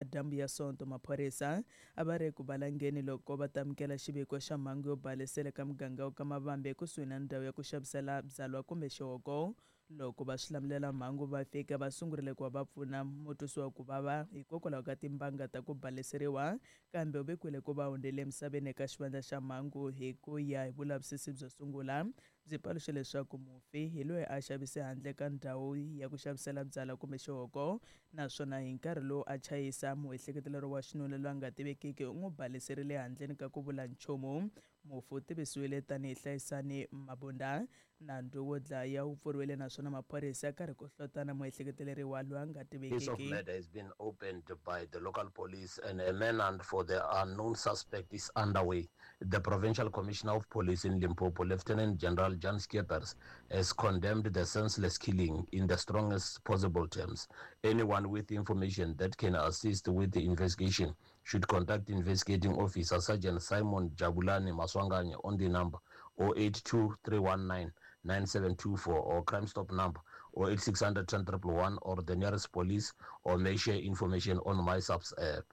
Madyambu ya Sonto, maphorisa a va ri eku valangeni loko va tamukela xiviko xa mhangu yo balesela eka muganga wa ka Mavambe ekusuhi na ndhawu ya ku xavisela byalwa kumbe xihoko. Loko va swilamulela mhangu va fika va sungurile ku va va pfuna mutwisiwa ku vava hikokwalaho ka timbanga ta ku baleseriwa, kambe u vekiwile ku va hundzile emisaveni eka xivandla xa mhangu. Hi ku ya hi vulavisisi byo sungula, byi paluxe leswaku mufi hi loyi a xavise handle ka ndhawu ya ku xavisela byalwa kumbe xihoko, naswona hi nkarhi lowu a chayisa, muehleketeleriwa wa xinuna loyi a nga tivekiki u n'wi baleserile handleni ka ku vula nchumu. Mufi u tivisiwile tanihi Hlayisani Mabunda. Nandzu wo dlaya wu pfuriwile naswona maphorisa ya karhi ku hlotana muehleketeleriwa loyi a nga Case of tivekiki. murder has been opened by the local police and a manhunt for the unknown suspect is underway. The Provincial Commissioner of Police in Limpopo, Lieutenant General Jan Skeepers, has condemned the senseless killing in the strongest possible terms. Anyone with information that can assist with the investigation should contact investigating officer Sergeant Simon Jabulani Maswanganye on the number 082 319 9724 or Crime Stop number 08600 10 111 or the nearest police, or may share information on MySAPS app.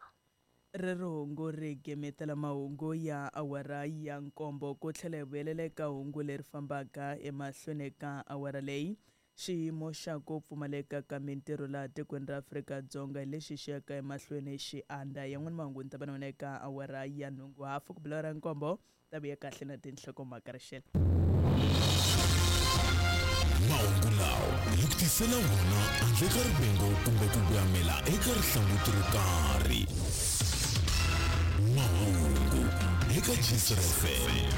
Rero hungu ri gemetela mahungu ya awara ya nkombo. Ku tlhela hi vuyelela eka hungu leri fambaka emahlweni ka awara leyi, xiyimo xa ku pfumaleka ka mintirho laha tikweni ra Afrika-Dzonga hi lexi xi yaka emahlweni xi andza. Yan'wana mahungu ni ta va na wena eka awara ya nhungu hafu ku bula ra nkombo, ta vuya kahle na tinhlokomhaka rixela. Mahungu lawa hi ku tisela wona handle ka rivengo kumbe ku voyamela eka rihlanguti ro karhi. Mahungu eka Gcina FM.